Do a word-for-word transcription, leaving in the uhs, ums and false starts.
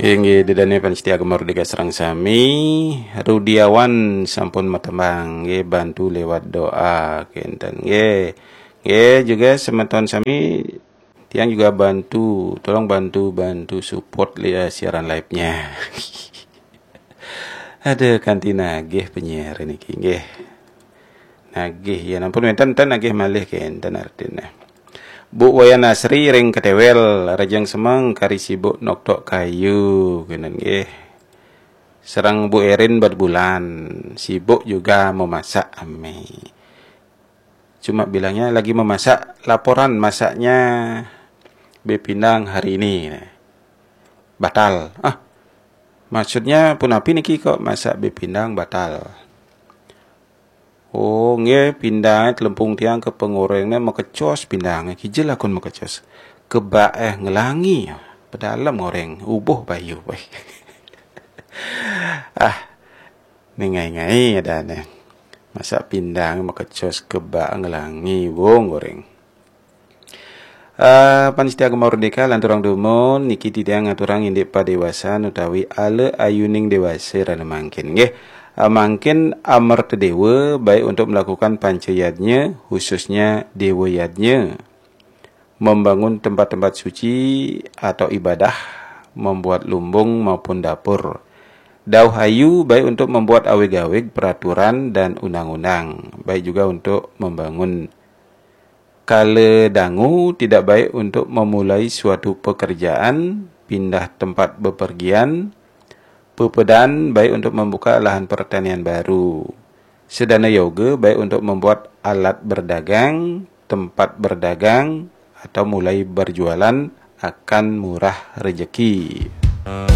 Inggih, ida dané pamiarsa Gema Merdeka sareng sami, Rudiawan sampun matembang, nggih, bantu lewat doa kénten, nggih. Nggih, juga semeton sami, tiang juga bantu, tolong bantu, bantu support li-, eh, siaran live-nya. Ada kanti nagih penyiar niki, nggih. Nagih, ya ampun, wénten ten nagih malih kénten artiné. Bu Wayan Asri ring Ketewel, rajang semeng kari sibuk noktok kayu, kénten nggih. Sareng Bu Erin Batubulan, sibuk juga memasak, ame. Cuma bilangnya lagi memasak, laporan masaknya bé pindang hari ini. Batal. Ah, maksudnya punapi niki kok masak bé pindang batal? Oh, nggih, pindangé telempung tiang ka pangorengné makecos pindangé. Kija lakun makecos? Kebak eh ngelangi. Pedalem ngoreng, ubuh bayu. Ah, ningai-ngai adané. Masak pindang makecos kebak ngelangi, wong goreng. Eh, pamiarsa Gema Merdeka, lanturang dumun, niki titiang ngaturang indik padéwasan utawi ala ayuning déwasa rena mangkin, nggih. Eh, mangkin amerta déwa baik untuk melakukan panca yadnya, khususnya déwa yadnya, membangun tempat-tempat suci atau ibadah, membuat lumbung maupun dapur. Dauh ayu baik untuk membuat awig-awig peraturan dan undang-undang, baik juga untuk membangun. Kala dangu tidak baik untuk memulai suatu pekerjaan, pindah tempat bepergian, pepedan baik untuk membuka lahan pertanian baru. Sedana yoga baik untuk membuat alat berdagang, tempat berdagang, atau mulai berjualan akan murah rezeki.